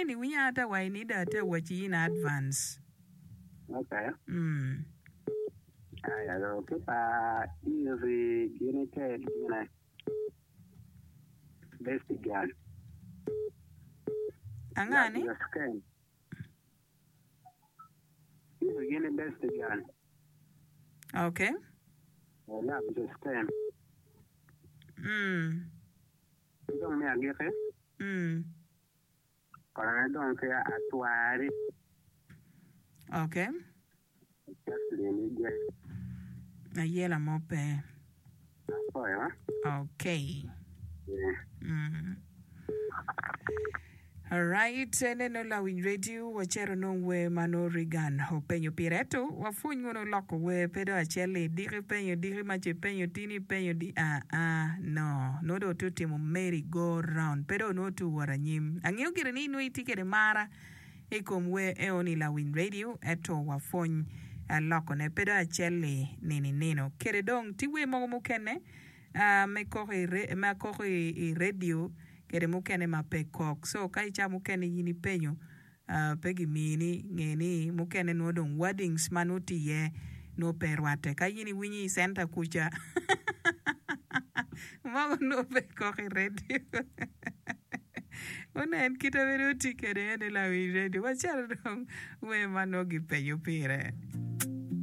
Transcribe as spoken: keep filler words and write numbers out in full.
Ni winya ata wa ini da ate waci in advance. Okay. Mm. Aya do ki pa iri gini te gine. Best girl. Angani? Love your skin. Iri gini best girl. Okay. Love your skin. Mm. Dong me agiki. Mm. Kono dong ki atwari. Okay. Jocelyn Igwe. Ayela mo pe. Apoyo. Okay. Yeah. Mm. Alright, neno lawiny radio wacito nong wer ma nongo Regan openyo pire ento wapwony wunu loko wer pe dong acel-li diki penyo diki maca ipenyo tini ipenyo di aa ah, no nongo dong otye otimo merry go round pe dong nongo tye owot anyim angeyo gire ni nongo itye kede mara i kom wer eoni lawiny radio ento wapwony lokone pe dong acel-li nini nino kede dong tye wer mogo mukene uh, me koko i re, ma koko i, i radio kede mukene ma pe kok so ka ica mukene in ipenyo uh, pe gimini nge ni mukene nongo dong wordings ma nongo tye iye nongo pe rwatte ka in iwinyo i center kuca mogo nongo pe kok i radio onen kite ma nongo tye kede ene lawiny radio wacito dong wer ma nongo gipenyo pire.